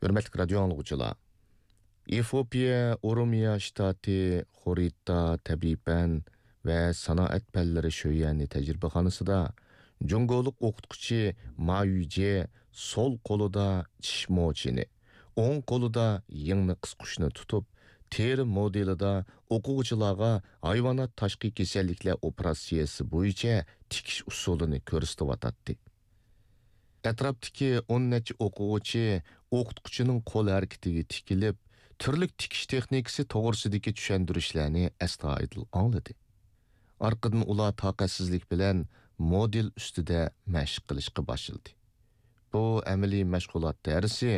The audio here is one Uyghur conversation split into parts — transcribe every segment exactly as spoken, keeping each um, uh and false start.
ھۆرمەتلىك رادىيو ئاڭلىغۇچىلار! ئېفىئوپىيە ئورومىيە شتاتى خورىتا تەبىئىي پەن ۋە سانائەت پەنلىرى شۆيەنى تەجرىبىخانىسىدا جۇڭگولۇق ئوقۇتقۇچى ما يۈجې سول قولىدا چىش موچىنى، ئوڭ قولىدا يىڭنە قىسقۇچنى تۇتۇپ، تېرە مودېلىدا ئوقۇغۇچىلارغا ھايۋانات تاشقى كېسەللىكلەر ئوپېراتسىيەسى بويىچە تىكىش ئۇسۇلىنى كۆرسىتىۋاتاتتى. ئەتراپتىكى ئون نەچچە ئوقۇغۇچى ئوقۇتقۇچىنىڭ قول ھەرىكىتىگە تىكىلىپ، تۈرلۈك تىكىش تېخنىكىسى توغرىسىدىكى چۈشەندۈرۈشلەرنى ئەستايىدىل ئاڭلىدى. ئارقىدىن ئۇلار تاقەتسىزلىك بىلەن مودېل ئۈستىدە مەشىق قىلىشقا باشلىدى. بۇ ئەمەلىي مەشغۇلات دەرسى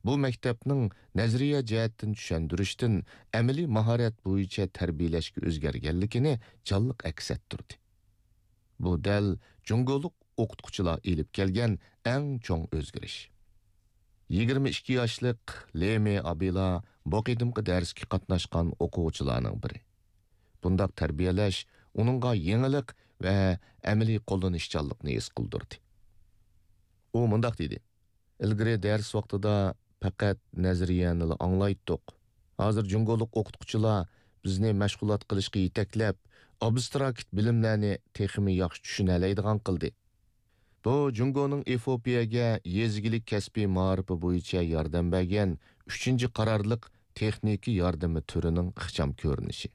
بۇ مەكتەپنىڭ نەزەرىيە جەھەتتىن چۈشەندۈرۈشتىن ئەمەلىي ماھارەت بويىچە تەربىيەلەشكە ئۆزگەرگەنلىكىنى جانلىق ئەكس ئەتتۈردى. بۇ دەل جۇڭگولۇق ئوقۇتقۇچىلار ئېلىپ كەلگەن ئەڭ چوڭ ئۆزگىرىش. يىگىرمە ئىككى ياشلىق لېمې ئابىلا بۇ قېتىمقى دەرسكە قاتناشقان ئوقۇغۇچىلارنىڭ بىرى. بۇنداق تەربىيەلەش ئۇنىڭغا يېڭىلىق ۋە ئەمەلىي قوللىنىشچانلىقنى ھېس قىلدۇردى. ئۇ مۇنداق دېدى: ئىلگىرى دەرس ۋاقتىدا پەقەت نەزەرىيەنىلا ئاڭلايتتۇق. ھازىر جۇڭگولۇق ئوقۇتقۇچىلار بىزنى مەشغۇلات قىلىشقا يېتەكلەپ، ئابستراكت بىلىملەرنى تېخىمۇ ياخشى چۈشىنەلەيدىغان قىلدى. بۇ جۇڭگونىڭ ئېفىئوپىيەگە يېزا ئىگىلىك كەسپىي مائارىپى بويىچە ياردەم بەرگەن ئۈچىنچى قارارلىق تېخنىكا ياردىمى تۈرىنىڭ ئىخچام كۆرۈنۈشى.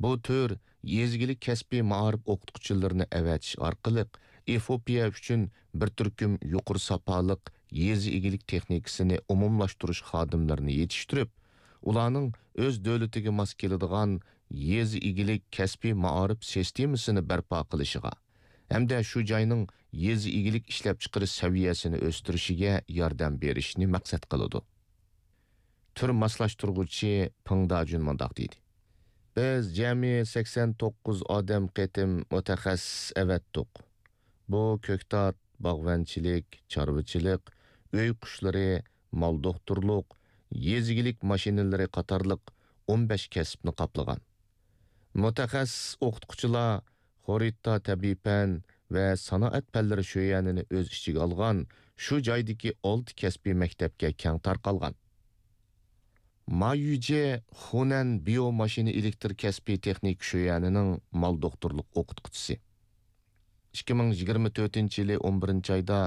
بۇ تۈر يېزا ئىگىلىك كەسپىي مائارىپ ئوقۇتقۇچىلىرىنى ئەۋەتىش ئارقىلىق ئېفىئوپىيە ئۈچۈن بىر تۈركۈم يۇقىرى ساپالىق يېزا ئىگىلىك تېخنىكىسىنى ئومۇملاشتۇرۇش خادىملىرىنى يېتىشتۈرۈپ، ئۇلارنىڭ ئۆز دۆلىتىگە ماس كېلىدىغان يېزا ئىگىلىك كەسپىي مائارىپ سىستېمىسىنى بەرپا قىلىشىغا ھەمدە شۇ جاينىڭ يېزا ئىگىلىك ئىشلەپچىقىرىش سەۋىيەسىنى ئۆستۈرۈشىگە ياردەم بېرىشنى مەقسەت قىلىدۇ. تۈر ماسلاشتۇرغۇچى پېڭ داجۈن مۇنداق دېدى: بىز جەمئىي سەكسەن توققۇز ئادەم قېتىم مۇتەخەسسىس ئەۋەتتۇق. بۇ كۆكتات، باغۋەنچىلىك، چارۋىچىلىق، ئۆي قۇشلىرى، مال دوختۇرلۇق، يېزا ئىگىلىك ماشىنىلىرى قاتارلىق ئون بەش كەسىپنى قاپلىغان. مۇتەخەسسىس ئوقۇتقۇچىلار خورىتا تەبىئىي پەن ۋە سانائەت پەنلىرى شۆيەنىنى ئۆز ئىچىگە ئالغان شۇ جايدىكى ئالتە كەسپىي مەكتەپكە كەڭ تارقالغان. ما يۈجې خۇنەن بىيو ماشىنا ئېلېكتر كەسپىي تېخنىكا شۆيەنىنىڭ مال دوختۇرلۇق ئوقۇتقۇچىسى. ئىككى مىڭ يىگىرمە تۆتىنچى يىلى ئون بىرىنچى ئايدا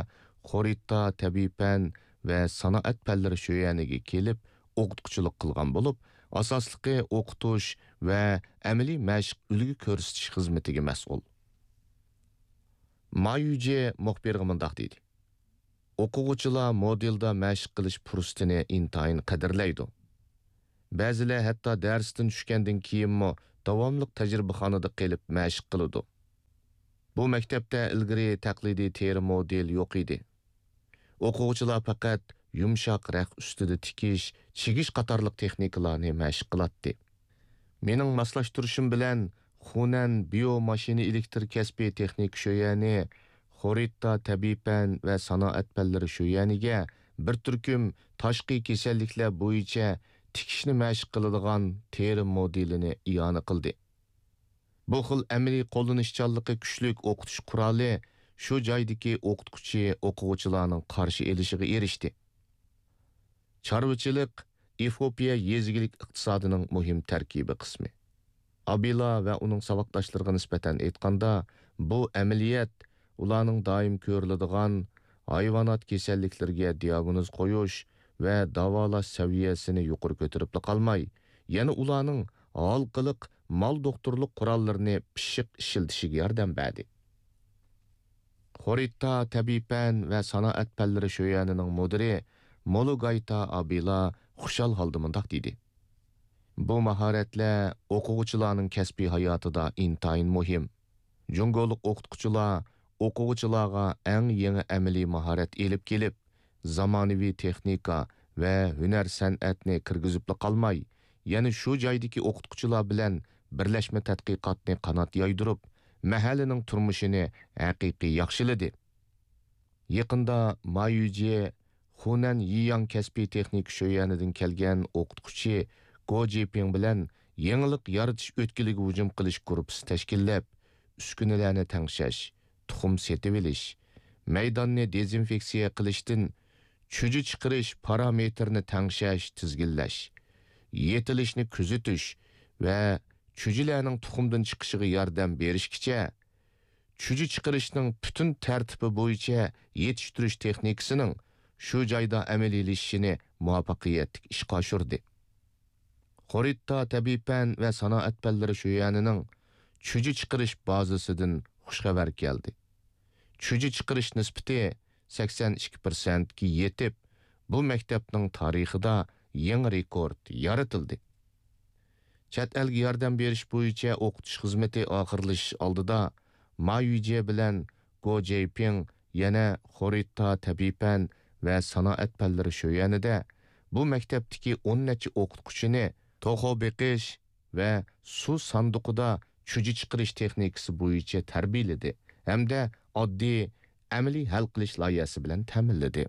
خورىتا تەبىئىي پەن ۋە سانائەت پەنلىرى شۆيەنىگە كېلىپ ئوقۇتقۇچىلىق قىلغان بولۇپ، ئاساسلىقى ئوقۇتۇش ۋە ئەمەلىي مەشىق ئۈلگە كۆرسىتىش خىزمىتىگە مەسئۇل. ما يۈجې مۇخبىرغا مۇنداق دېدى: ئوقۇغۇچىلار مودېلدا مەشىق قىلىش پۇرسىتىنى ئىنتايىن قەدىرلەيدۇ. بەزىلەر ھەتتا دەرستىن چۈشكەندىن كېيىنمۇ داۋاملىق تەجرىبىخانىدا قېلىپ مەشىق قىلىدۇ. بۇ مەكتەپتە ئىلگىرى تەقلىدىي تېرە مودېل يوق ئىدى. ئوقۇغۇچىلار پەقەت يۇمشاق رەخت ئۈستىدە تىكىش، چىگىش قاتارلىق تېخنىكىلارنى مەشىق قىلاتتى. مېنىڭ ماسلاشتۇرۇشۇم بىلەن خۇنەن بىيو ماشىنا ئېلېكتر كەسپىي تېخنىكا شۆيەنى خورىتا تەبىئىي پەن ۋە سانائەت پەنلىرى شۆيەنىگە بىر تۈركۈم تاشقى كېسەللىكلەر بويىچە تىكىشنى مەشىق قىلىدىغان تېرە مودېلىنى ئىئانە قىلدى. بۇ خىل ئەمەلىي قوللىنىشچانلىقى كۈچلۈك ئوقۇتۇش قورالى شۇ جايدىكى ئوقۇتقۇچى ئوقۇغۇچىلارنىڭ قارشى ئېلىشىغا ئېرىشتى. چارۋىچىلىق ئېفىئوپىيە يېزا ئىگىلىك ئىقتىسادىنىڭ مۇھىم تەركىبىي قىسمى. ئابىلا ۋە ئۇنىڭ ساۋاقداشلىرىغا نىسبەتەن ئېيتقاندا، بۇ ئەمەلىيەت ئۇلارنىڭ دائىم كۆرۈلىدىغان ھايۋانات كېسەللىكلىرىگە دىئاگنوز قويۇش ۋە داۋالاش سەۋىيەسىنى يۇقىرى كۆتۈرۈپلا قالماي، يەنە ئۇلارنىڭ ھالقىلىق مال دوختۇرلۇق قوراللىرىنى پىششىق ئىشلىتىشىگە ياردەم بەردى. خورىتا تەبىئىي پەن ۋە سانائەت پەنلىرى شۆيەنىنىڭ مۇدىرى مولۇگايتا ئابىلا خۇشال ھالدا مۇنداق دېدى: بۇ ماھارەتلەر ئوقۇغۇچىلارنىڭ كەسپىي ھاياتىدا ئىنتايىن مۇھىم. جۇڭگولۇق ئوقۇتقۇچىلار ئوقۇغۇچىلارغا ئەڭ يېڭى ئەمەلىي ماھارەت ئېلىپ كېلىپ، زامانىۋى تېخنىكا ۋە ھۈنەر-سەنئەتنى كىرگۈزۈپلا قالماي، يەنە شۇ جايدىكى ئوقۇتقۇچىلار بىلەن بىرلەشمە تەتقىقاتنى قانات يايدۇرۇپ، مەھەللىنىڭ تۇرمۇشىنى ھەقىقىي ياخشىلىدى. يېقىندا ما يۈجې خۇنەن يىياڭ كەسپىي تېخنىكا شۆيەنىدىن كەلگەن ئوقۇتقۇچى گو جىپىڭ بىلەن يېڭىلىق يارىتىش ئۆتكىلىگە ھۇجۇم قىلىش گۇرۇپپىسى تەشكىللەپ، ئۈسكۈنىلەرنى تەڭشەش، تۇخۇم سېتىۋېلىش، مەيداننى دېزىنفېكسىيە قىلىشتىن چۈجە چىقىرىش پارامېتىرىنى تەڭشەش، تىزگىنلەش، يېتىلىشنى كۆزىتىش ۋە چۈجىلەرنىڭ تۇخۇمدىن چىقىشىغا ياردەم بېرىشكىچە، چۈجە چىقىرىشنىڭ پۈتۈن تەرتىپى بويىچە يېتىشتۈرۈش تېخنىكىسىنىڭ شۇ جايدا ئەمەلىيلىشىشىنى مۇۋەپپەقىيەتلىك ئىشقا ئاشۇردى. خورىتا تەبىئىي پەن ۋە سانائەت پەنلىرى شۆيۈەنىنىڭ چۈجە چىقىرىش بازىسىدىن خۇش خەۋەر كەلدى. چۈجە چىقىرىش نىسبىتى سەكسەن ئىككى پىرسەنتكە يېتىپ، بۇ مەكتەپنىڭ تارىخىدا يېڭى رېكورت يارىتىلدى. چەت ئەلگە ياردەم بېرىش بويىچە ئوقۇتۇش خىزمىتى ئاخىرلىشىش ئالدىدا، ما يۈجيې بىلەن گو جېيپىڭ يەنە خورىتا تەبىئىي پەن ۋە سانائەت پەنلىرى شۆيۈەنىدە بۇ مەكتەپتىكى ئون نەچچە ئوقۇتقۇچىنى توخۇ بېقىش ۋە سۇ ساندۇقىدا چۈجە چىقىرىش تېخنىكىسى بويىچە تەربىيەلىدى ھەمدە ئاددىي ئەمەلىي ھەل قىلىش لايىھەسى بىلەن تەمىنلىدى.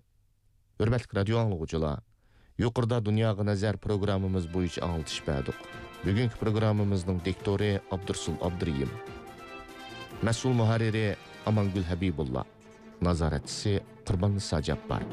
ھۆرمەتلىك رادىيو ئاڭلىغۇچىلار، يۇقىرىدا دۇنياغا نەزەر پروگراممىمىز بويىچە ئاڭلىتىش بەردۇق. بۈگۈنكى پروگراممىمىزنىڭ دىكتورى ئابدۇرسۇل ئابدۇرېھىم. مەسئۇل مۇھەررىرى ئامانگۈل ھەبىبۇللا. نازارەتچىسى قۇرباننىسا جاپپار.